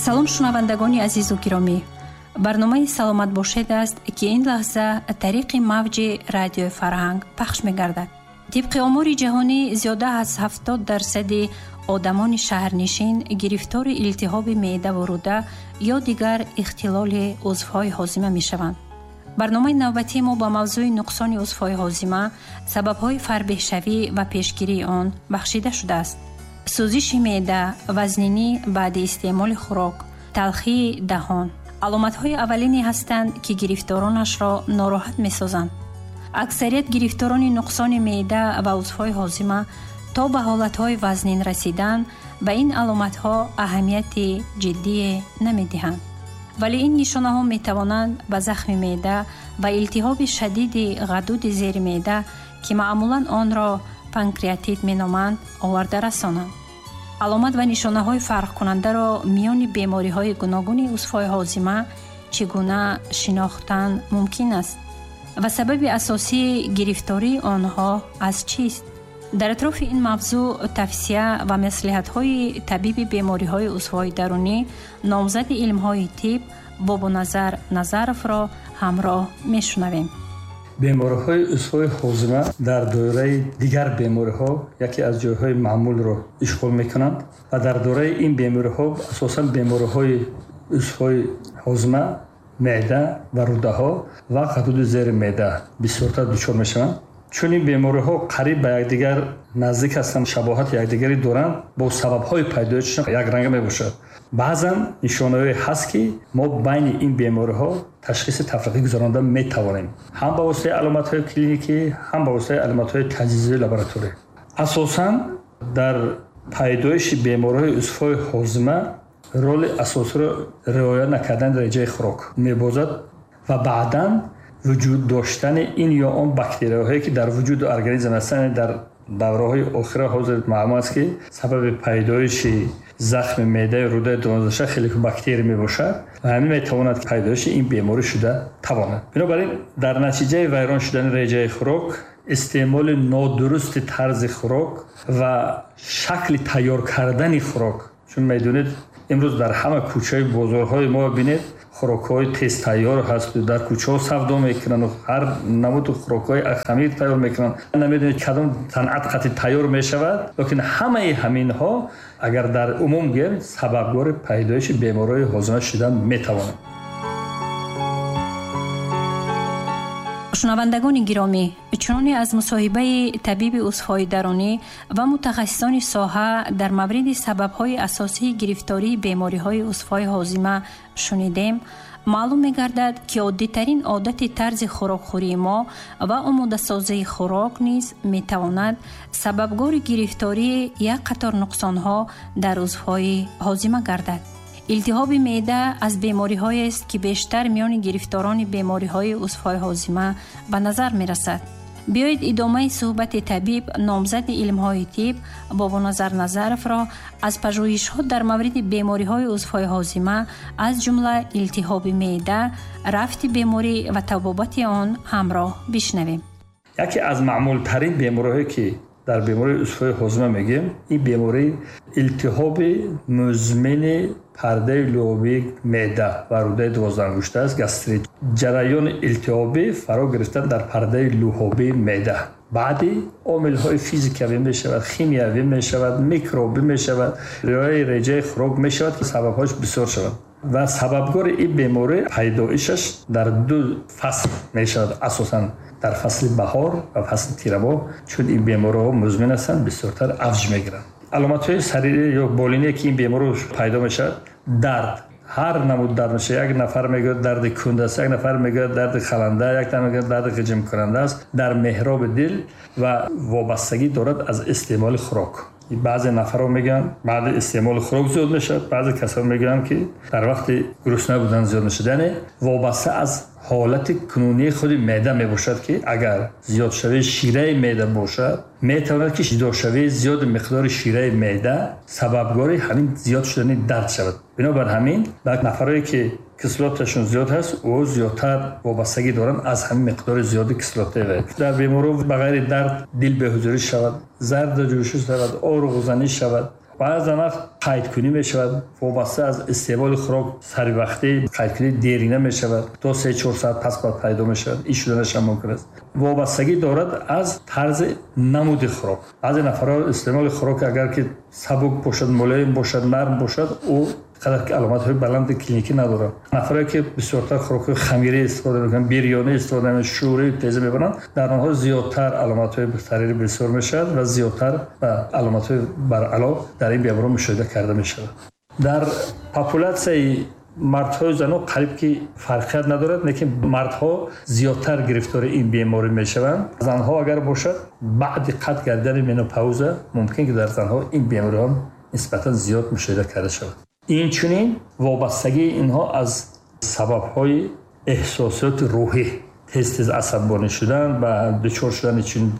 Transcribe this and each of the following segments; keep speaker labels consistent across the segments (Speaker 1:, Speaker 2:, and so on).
Speaker 1: Салом, шунавандагони азизу гиромӣ. Барномаи «Саломат бошед» аст, ки ин лаҳза тариқи мавҷи радиои Фарҳанг пахш мегардад. Тибқи омори ҷаҳонӣ, зиёда аз 70% одамони шаҳрнишин гирифтори илтиҳоби меъдаву рӯда ё дигар ихтилоли узвҳои ҳозима мешаванд. Барномаи навбатии мо ба мавзӯи нуқсони узвҳои ҳозима, сабабҳои фарбеҳшавӣ ва пешгирии он бахшида шудааст. Сӯзиши меъда, вазнинӣ баъди истеъмоли хӯрок, талхии даҳон аломатҳои аввалине ҳастанд, ки гирифторонашро нороҳат месозанд. Аксарият гирифторони нуқсони меъда ва узвҳои ҳозима то ба ҳолатҳои вазнин расидан ба ин аломатҳо аҳамияти ҷиддие намедиҳанд. Вале ин нишонаҳо метавонанд ба захми меъда ва илтиҳоби шадиди ғадуди зери меъда, ки маъмулан онро панкреатит меноманд, оварда расонанд. Аломат ва нишонаҳои фарқкунандаро миёни бемориҳои гуногуни узвҳои ҳозима чӣ гуна шинохтан мумкин аст ва сабаби асосии гирифтории онҳо аз чист? Дар атрофи ин мавзӯъ тавсия ва маслиҳатҳои табиби бемориҳои узвҳои дарунӣ, номзади илмҳои тиб Бобоназар Назаровро ҳамроҳ мешунавем.
Speaker 2: Бемориҳои узвҳои ҳозима дар доираи дигар бемориҳо яке аз ҷойҳои маъмулро ишғол мекунанд ва дар доираи ин бемориҳо асосан бемориҳои узвҳои ҳозима, меъда ва рӯдаҳо ва ғадуди зери меъда бисёртар дучор мешаванд. Чун ин бемориҳо қариб ба якдигар наздик ҳастанд, шабоҳати якдигарӣ доранд, бо сабабҳои пайдоишашон якранга мебошад. Баъзан нишонаҳое ҳаст, ки мо байни ин бемориҳо ташхиси тафриқӣ гузаронда метавонем, ҳам ба воситаи аломатҳои клиникӣ, ҳам ба воситаи аломатҳои таҷҳизии лабораторӣ. Асосан дар пайдоиши бемориҳои узвҳои ҳозима роли асосиро риоя накардани дараҷаи хӯрок мебозад ва баъдан вуҷуд доштани ин ё он бактерияҳое, ки дар вуҷуду организм ҳастанд. Дар давраҳои охира ҳозир маълум аст, ки сабаби пайдоиши захми меъдаи рӯдаи дувоздаҳша хеликобактерия мебошад ва ҳамин метавонад пайдоиши ин беморӣ шуда тавонад. Бинобар ин, дар натиҷаи вайрон шудани реҷаи хӯрок, истеъмоли нодурусти тарзи хӯрок ва шакли тайёр кардани хӯрок, чун медонед, имрӯз дар ҳама кӯчаи бозорҳои мо бинед, хӯрокҳои тезтайёр ҳаст, дар кӯчаҳо савдо мекунанд, ҳар намуду хӯрокҳои хамир тайёр мекунанд, намедонед, кадом санъат қатъи тайёр мешавад. Лекин ҳамаи ҳаминҳо, агар дар умум гӯем, сабабгори пайдоиши бемориҳои ҳозима шудан метавонанд.
Speaker 1: Шунавандагони гиромӣ, чуноне аз мусоҳибаи табиби узвҳои дарунӣ ва мутахассисони соҳа дар мавриди сабабҳои асосии гирифтории бемориҳои узвҳои ҳозима шунидем, маълум мегардад, ки оддитарин одати тарзи хӯрокхӯрии мо ва омодасозии хӯрок низ метавонад сабабгори гирифтории як қатор нуқсонҳо дар узвҳои ҳозима гардад. Илтиҳоби меъда аз бемориҳоест, ки бештар миёни гирифторони бемориҳои узвҳои ҳозима ба назар мерасад. Биёед, идомаи суҳбати табиб, номзади илмҳои тиб Бобоназар Назаровро аз пажӯҳишҳо дар мавриди бемориҳои узвҳои ҳозима, аз ҷумла илтиҳоби меъда, рафти беморӣ ва табобати он ҳамроҳ бишнавем.
Speaker 2: Яке аз маъмултарин бемориҳое, ки дар бемории узвҳои ҳозима мегӯем, ин бемории илтиҳоби музмини пардаи луобии меъда ва рӯдаи дувоздаҳангушта аст, гастрит. Ҷараёни илтиҳобӣ фаро гирифтан дар пардаи луҳобии меъда баъди омилҳои физикавӣ мешавад, химиявӣ мешавад, микробӣ мешавад, риояи реҷаи хӯрок мешавад, ки сабабҳояш бисёр шавад. Ва сабабгори ин беморӣ пайдоишаш дар ду фасл мешавад, асосан дар фасли баҳор ва фасли тирамоҳ, чун ин бемориҳо музмин ҳастанд, бисёртар авҷ мегиранд. Аломатҳои сарирӣ ё болиние, ки ин беморӣ пайдо мешавад, дард, ҳар намуд дард мешавад. Як нафар мегӯяд, дарди кунд аст, як нафар мегӯяд, дарди халанда, як нафар мегӯяд, дарди ғиҷимкунанда аст дар меҳроби дил ва вобастагӣ дорад аз истеъмоли хӯрок. Баъзе нафарҳо мегӯянд, баъди истеъмоли хӯрок зиёд мешавад, баъзе касон мегӯянд, ки дар вақти гурусна будан зиёд мешавад. Яъне вобаста аз ҳолати кунунии худи меъда мебошад, ки агар зиёдшавии шираи меъда бошад, метавонад, ки ҷудошавии зиёди миқдори шираи меъда сабабгори ҳамин зиёд шудани дард шавад. Бинобар ҳамин, ба нафарое, ки кислоташон зиёд ҳаст, ӯ зиёдтар вобастагӣ доранд аз ҳамин миқдори зиёди кислотаи. Дар беморҳо ба ғайри дард дил беҳузурӣ шавад, зарду ҷӯшӣ шавад, оруғзанӣ шавад, Баъзан вақт қайдкунӣ мешавад, вобаста аз истеъмоли хӯрок саривақтӣ қайдкунӣ дерина мешавад, то 3-4 соат пас баъд пайдо мешавад. Ин шуданаш ҳам мумкин аст. Вобастагӣ дорад аз тарзи намуди хӯрок. Баъзе нафарҳо истеъмоли хӯрок агар ки сабук бошад, мулоим бошад, нарм бошад, ӯ қадар аломатҳои баланди клиникӣ надорад. Нафарое ки бисёртар хӯрокҳои хамирӣ истифода мекунанд, бирёнӣ истифода мекунанд, шӯрии теза мебаранд, дар онҳо зиёдтар аломатҳои сарири бисёр мешавад ва зиёдтар ба аломатҳои баръало дар ин беморон мушоҳида карда мешавад. Дар популятсияи мардҳою занон қариб ки фарқият надорад, лекин мардҳо зиёдтар гирифтори ин беморӣ мешаванд. Занҳо агар бошад, баъди қатъ гардидани менопауза мумкин ки дар занҳо ин бемориҳо нисбатан зиёд мушоҳида карда шавад. Инчунин вобастагии инҳо аз сабабҳои эҳсосоти рӯҳӣ, тез-тез асабонӣ шудан ва дучор шудани чунин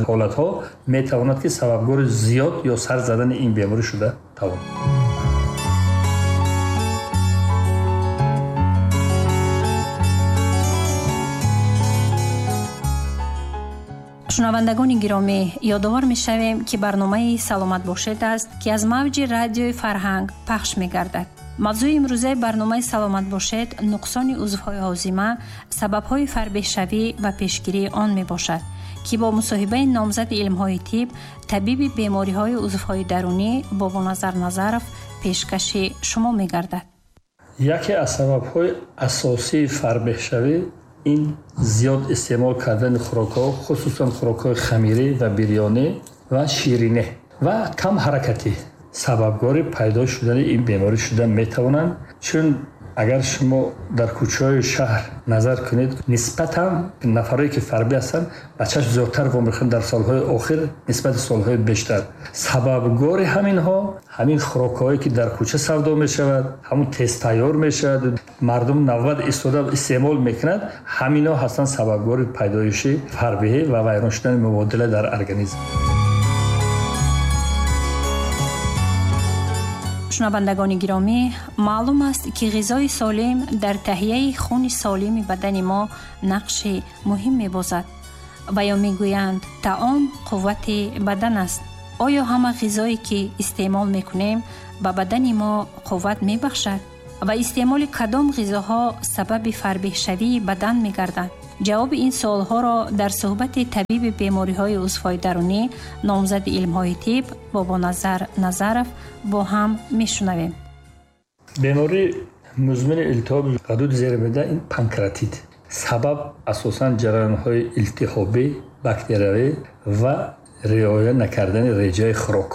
Speaker 2: ҳолатҳо метавонад ки сабабгори зиёд ё сар задани ин беморӣ шуда тавонад.
Speaker 1: Шунавандагони гиромӣ, ёдовар мешавем, ки барномаи «Саломат бошед» аст, ки аз мавҷи радиои Фарҳанг пахш мегардад. Мавзӯи имрӯзаи барномаи «Саломат бошед» нуқсони узвҳои ҳозима, сабабҳои фарбеҳшавӣ ва пешгирии он мебошад, ки бо мусоҳибаи номзади илмҳои тиб, табиби бемориҳои узвҳои дарунӣ Бобоназар Назаров пешкаши шумо мегардад.
Speaker 2: Яке аз сабабҳои асосии фарбеҳшавӣ ин зиёд истеъмол кардани хӯрокҳо, хусусан хӯрокҳои хамирӣ ва бирёнӣ ва ширинӣ ва кам ҳаракатӣ сабабгори пайдо шудани ин беморӣ шуда метавонанд. Чун агар шумо дар кӯчаҳои шаҳр назар кунед, нисбатан нафарое ки фарбӣ ҳастанд ба чашм зиёдтар вомехӯранд дар солҳои охир нисбати солҳои бештар. Сабабгори ҳаминҳо ҳамин хӯрокҳое ки дар кӯча савдо мешавад, ҳамун тез тайёр мешавад, мардум навбат истода истеъмол мекунад, ҳаминҳо ҳастанд сабабгори пайдоиши фарбеҳӣ ва вайрон шудани мубодила дар организм.
Speaker 1: Шунавандагони гиромӣ, маълум аст, ки ғизои солим дар таҳияи хуни солими бадани мо нақши муҳим мебозад. Ва ё мегӯянд, таом қуввати бадан аст. Оё ҳама ғизое ки истеъмол мекунем ба бадани мо қувват мебахшад? Ва истеъмоли кадом ғизоҳо сабаби фарбеҳшавии бадан мегарданд? Ҷавоби ин суолҳоро дар суҳбати табиби бемориҳои узвҳои дарунӣ, номзади илмҳои тиб Бобоназар Назаров бо ҳам мешунавем.
Speaker 2: Бемории музмини илтиҳоби ғадуди зери меъда ин панкреатит. Сабаб асосан ҷараёнҳои илтиҳобӣ, бактериявӣ ва риоя накардани реҷаи хӯрок.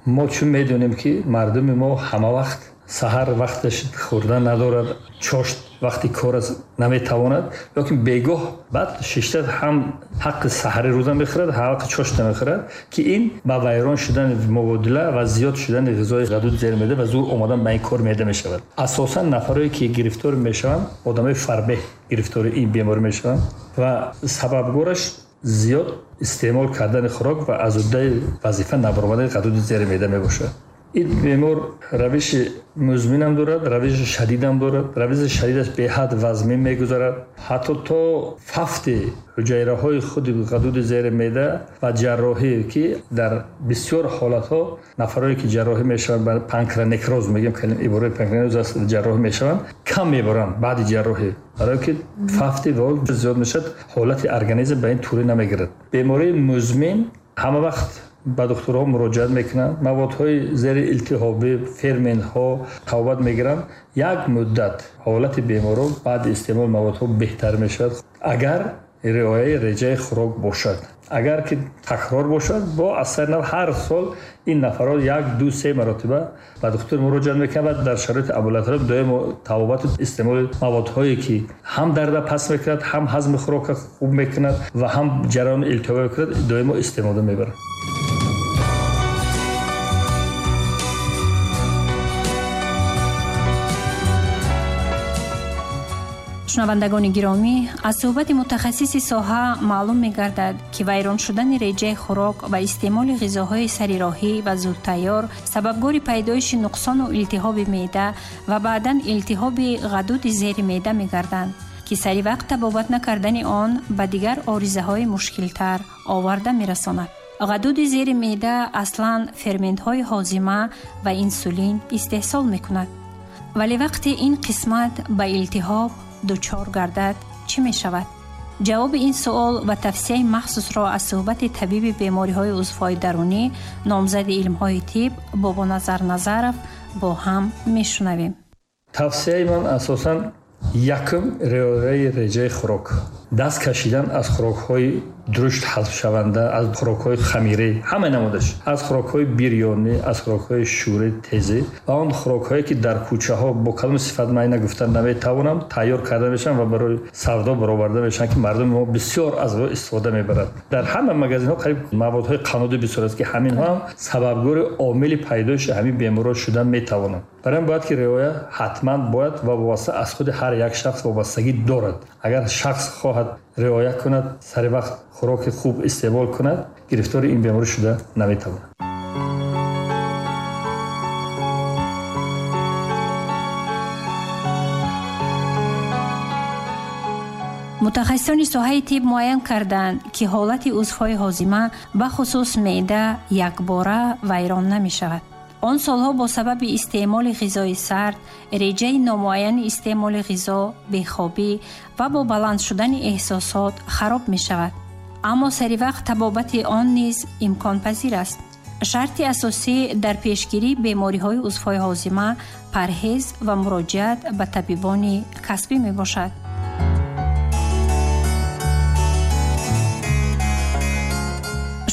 Speaker 2: Мо чун медонем ки мардуми мо ҳама вақт саҳар вақташ хӯрдан надорад, чошт вақти кор аст наметавонад, лекин бегоҳ баъд шишта ҳам ҳаққи саҳари рӯза мехӯрад, ҳам ҳаққи чошт намехӯрад, ки ин ба вайрон шудани мубодила ва зиёд шудани ғизои ғадуди зери меъда ва зур омадан ба ин кор меъда мешавад. Асосан нафарое ки гирифтор мешаванд, одамои фарбеҳ гирифтори ин беморӣ мешаванд ва сабабгораш зиёд истеъмол кардани хӯрок ва аз уҳдаи вазифа набаромадани ғадуди зери меъда мебошад. Ин бемор равиши музминам дорад, равиши шадидам дорад. Равиши шадидаш беҳад вазмин мегузарад, ҳатто то фафти ҳуҷайраҳои худи ғадуди зери меъда ва ҷарроҳӣ, ки дар бисёр ҳолатҳо нафарое ки ҷарроҳӣ мешаванд, ба панкранекроз мегӯем, ибораи панкранекроз аст, ҷарроҳӣ мешаванд, кам мебаранд баъди ҷарроҳӣ, барое ки фафти вол зиёд мешавад, ҳолати организм ба ин турӣ намегирад. Бемории музмин ҳама вақт ба духтурҳо муроҷиат мекунанд, маводҳои зери илтиҳобӣ, ферментҳо тавбат мегиранд. Як муддат ҳолати беморон баъди истеъмоли маводҳо беҳтар мешавад, агар риояи реҷаи хӯрок бошад. Агар ки такрор бошад, бо аз сари нав ҳар сол ин нафарҳо 1-2-3 маротиба ба духтур муроҷиат мекунанд ва дар шароити амбулатория доимо табобату истеъмоли маводҳое ки ҳам дарда пас мекунад, ҳам ҳазми хӯрокро хуб мекунад ва ҳам ҷараёни илтиҳобӣ мекунад, доимо истеъмода мебаранд.
Speaker 1: Шунавандагони гиромӣ, аз суҳбати мутахассиси соҳа маълум мегардад, ки вайрон шудани реҷаи хӯрок ва истеъмоли ғизоҳои сарироҳӣ ва зудтайёр сабабгори пайдоиши нуқсону илтиҳоби меъда ва баъдан илтиҳоби ғадуди зери меъда мегарданд, ки саривақт табобат накардани он ба дигар оризаҳои мушкилтар оварда мерасонад. Ғадуди зери меъда аслан ферментҳои ҳозима ва инсулин истеҳсол мекунад. Вале вақте ин қисмат ба илтиҳоб дучор гардад, чӣ мешавад? Ҷавоби ин суол ва тавсияи махсусро аз суҳбати табиби бемориҳои узвҳои дарунӣ, номзади илмҳои тиб Бобоназар Назаров бо ҳам мешунавем.
Speaker 2: Тавсияи ман асосан якум риояи реҷаи хӯрок, даст кашидан аз хӯрокҳои друшт ҳазмшаванда, аз хӯрокҳои хамирӣ, ҳама намудаш, аз хӯрокҳои бирёнӣ, аз хӯрокҳои шӯри тезӣ ва он хӯрокҳое ки дар кӯчаҳо бо калом сифат ман нагуфта наметавонам, тайёр карда мешаванд ва барои савдо бароварда мешаванд, ки мардуми мо бисёр аз он истифода мебарад. Дар ҳама магазинҳо қариб маводҳои қаннодӣ бисёр аст, ки ҳаминҳо ҳам сабабгори омили пайдоиши ҳамин бемориҳо шудан метавонанд. Барои ин бояд ки риоя ҳатман бояд ва вобаста аз худи ҳар як шахс вобастагӣ дорад. Агар шахс хоҳад риоя кунад, сари вақт хӯроки хуб истеъмол кунад, гирифтори ин беморӣ шуда наметавонад.
Speaker 1: Мутахассисони соҳаи тиб муайян карданд, ки ҳолати узвҳои ҳозима, бахусус меъда, якбора вайрон намешавад. Он солҳо бо сабаби истеъмоли ғизои сард, реҷаи номуайяни истеъмоли ғизо, бехобӣ ва бо баланд шудани эҳсосот хароб мешавад. Аммо сари вақт табобати он низ имконпазир аст. Шарти асосӣ дар пешгирии бемориҳои узвҳои ҳозима парҳез ва муроҷиат ба табибони касбӣ мебошад.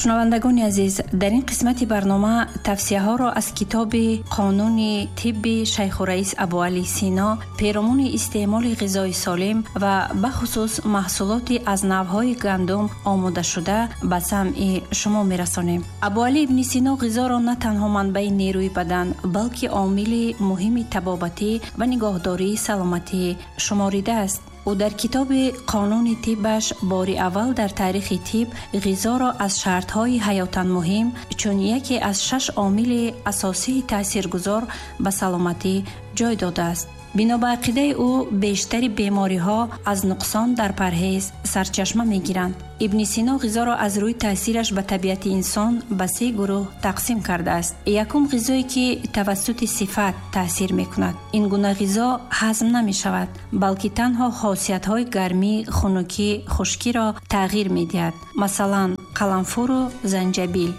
Speaker 1: Шунавандагони азиз, дар ин қисмати барнома тавсияҳоро аз китоби Қонуни тибби Шайхураис Абуалӣ Сино перомуни истеъмоли ғизои солим ва бахусус маҳсулоти аз навъҳои гандум омодашуда ба самъи шумо мерасонем. Абуалӣ ибни Сино ғизоро на танҳо манбаи нерӯи бадан, балки омили муҳими табобатӣ ва нигоҳдории саломатӣ шуморидааст. Ӯ дар китоби Қонуни тиббаш бори аввал дар таърихи тиб ғизоро аз шартҳои ҳаётан муҳим чун яке аз 6 омили асосии таъсиргузор ба саломатӣ ҷой додааст. Бино ба ақидаи ӯ бештари бемориҳо аз нуқсон дар парҳез сарчашма мегиранд. Ибни Сино ғизоро аз рӯи таъсираш ба табиати инсон ба 3 гурӯҳ тақсим кардааст. Якум ғизое ки тавассути сифат таъсир мекунад. Ин гуна ғизо ҳазм намешавад, балки танҳо хосиятҳои гармӣ, хунукӣ, хушкиро тағйир медиҳад. Масалан, қаламфуру занҷабил.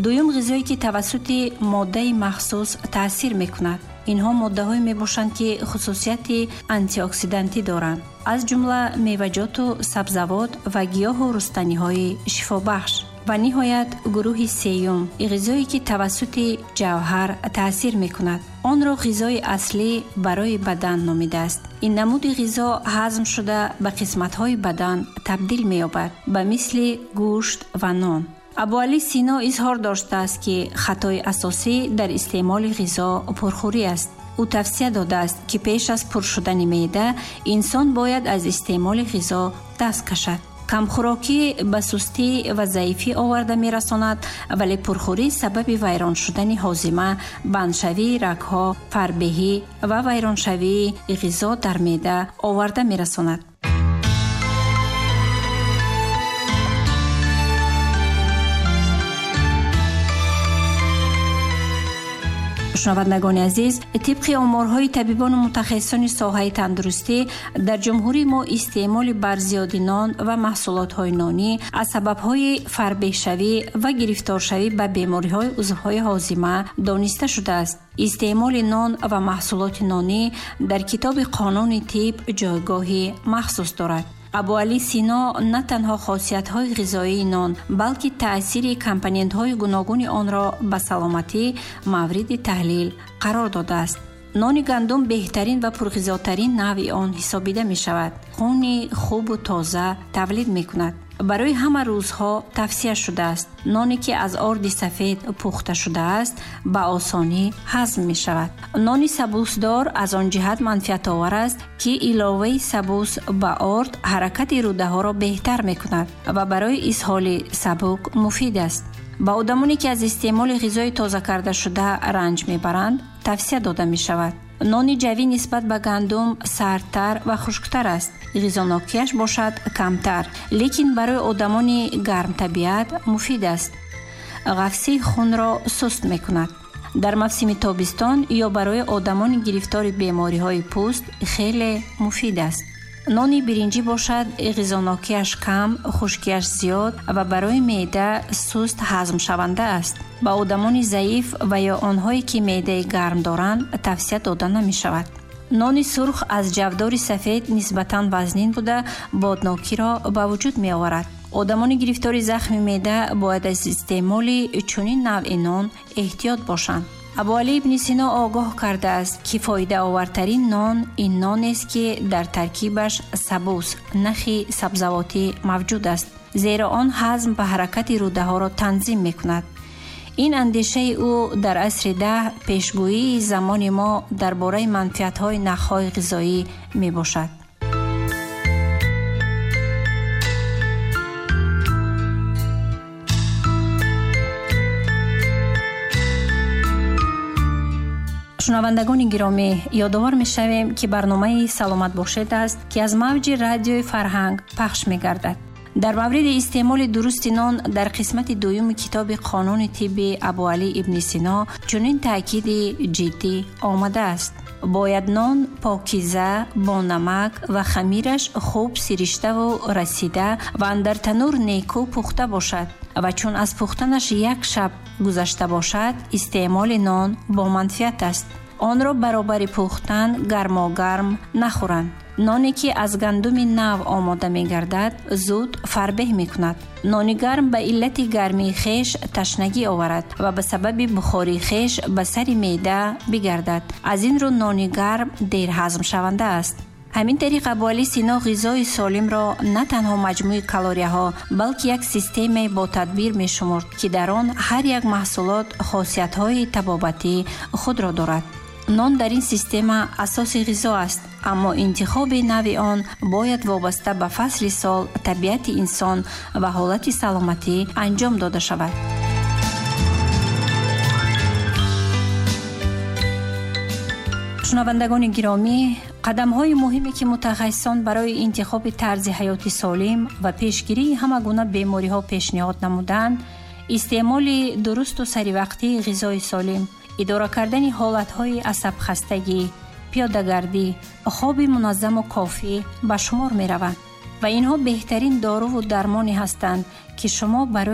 Speaker 1: Дуюм ғизое ки тавассути моддаи махсус таъсир мекунад. Инҳо моддаҳое мебошанд, ки хусусияти антиоксидантӣ доранд, аз ҷумла меваҷоту сабзавот ва гиёҳу рустаниҳои шифобахш. Ва ниҳоят гурӯҳи сеюм ғизое ки тавассути ҷавҳар таъсир мекунад. Онро ғизои аслӣ барои бадан номидааст. Ин намуди ғизо ҳазм шуда ба қисматҳои бадан табдил меёбад, ба мисли гӯшт ва нон. Абуалӣ Сино изҳор доштааст, ки хатои асосӣ дар истеъмоли ғизо пурхӯрӣ аст. Ӯ тавсия додааст, ки пеш аз пур шудани меъда инсон бояд аз истеъмоли ғизо даст кашад. Камхӯрокӣ ба сустӣ ва заифӣ оварда мерасонад, вале пурхӯрӣ сабаби вайрон шудани ҳозима, бандшавии рагҳо, фарбеҳӣ ва вайроншавии ғизо дар меъда оварда мерасонад. Шунавандагони азиз, тибқи оморҳои табибону мутахассисони соҳаи тандурустӣ дар ҷумҳурии мо истеъмоли барзиёди нон ва маҳсулотҳои нонӣ аз сабабҳои фарбеҳшавӣ ва гирифторшавӣ ба бемориҳои узвҳои ҳозима дониста шудааст. Истеъмоли нон ва маҳсулоти нонӣ дар китоби Қонуни тиб ҷойгоҳи махсус дорад. Абуалӣ Сино на танҳо хосиятҳои ғизоии нон, балки таъсири компонентҳои гуногуни онро ба саломатӣ мавриди таҳлил қарор додааст. Нони гандум беҳтарин ва пурғизотарин навъи он ҳисобида мешавад. Хуни хубу тоза тавлид мекунад. Барои ҳама рӯзҳо тавсия шудааст. Ноне ки аз орди сафед пухта шудааст, ба осонӣ ҳазм мешавад. Нони сабусдор аз он ҷиҳат манфиатовар аст, ки иловаи сабус ба орд ҳаракати рӯдаҳоро беҳтар мекунад ва барои изҳоли сабук муфид аст. Ба одамоне ки аз истеъмоли ғизои тоза кардашуда ранҷ мебаранд, тавсия дода мешавад. Нони ҷавӣ нисбат ба гандум сардтар ва хушктар аст, ғизонокиаш бошад камтар, лекин барои одамони гармтабиат муфид аст. ғафсии хунро суст мекунад. Дар мавсими тобистон ё барои одамони гирифтори бемориҳои пӯст хеле муфид аст. Нони биринҷӣ бошад, ғизонокиаш кам, хушкиаш зиёд ва барои меъда суст ҳазмшаванда аст. Ба одамони заиф ва ё онҳое ки меъдаи гарм доранд, тавсия дода намешавад. Нони сурх аз ҷавдори сафед нисбатан вазнин буда, боднокиро ба вуҷуд меоварад. Одамони гирифтори захми меъда бояд аз истеъмоли чунин навъи нон эҳтиёт бошанд. Абуалӣ ибни Сино огоҳ кардааст, ки фоидаовартарин нон ин нонест, ки дар таркибаш сабуз, нахи сабзавотӣ мавҷуд аст, зеро он ҳазм ва ҳаракати рӯдаҳоро танзим мекунад. Ин андешаи ӯ дар асри 10 пешгӯии замони мо дар бораи манфиатҳои нахҳои ғизоӣ мебошад. Шунавандагони гиромӣ, ёдовар мешавем, ки барномаи «Саломат бошед» аст, ки аз мавҷи радиои Фарҳанг пахш мегардад. Дар мавриди истеъмоли дурусти нон дар қисмати дуюми китоби Қонуни тибби Абуалӣ ибни Сино чунин таъкиди ҷиддӣ омадааст: бояд нон покиза, бо намак ва хамираш хуб сириштаву расида ва андар танур некӯ пухта бошад ва чун аз пухтанаш як шаб гузашта бошад, истеъмоли нон боманфиат аст. Онро баробари пухтан гармогарм нахӯранд. Ноне ки аз гандуми нав омода мегардад, зуд фарбеҳ мекунад. Нони гарм ба иллати гармии хеш ташнагӣ оварад ва ба сабаби бухории хеш ба сари меъда бигардад. Аз ин рӯ нони гарм дер ҳазмшаванда аст. Ҳамин тариқ Абуалӣ Сино ғизои солимро на танҳо маҷмӯи калорияҳо, балки як системаи ботадбир мешумурд, ки дар он ҳар як маҳсулот хосиятҳои табобатии худро дорад. Нон дар ин система асоси ғизо аст, аммо интихоби нави он бояд вобаста ба фасли сол, табиати инсон ва ҳолати саломатӣ анҷом дода шавад. Шунавандагони гиромӣ, қадамҳои муҳиме, ки мутахассисон барои интихоби тарзи ҳаёти солим ва пешгирии ҳама гуна бемориҳо пешниҳод намуданд, истеъмоли дурусту саривақтии ғизои солим, идора кардани ҳолатҳои асабхастагӣ, пиёдагардӣ, хоби муназзаму кофӣ ба шумор мераванд ва инҳо беҳтарин доруву дармоне ҳастанд, ки шумо барои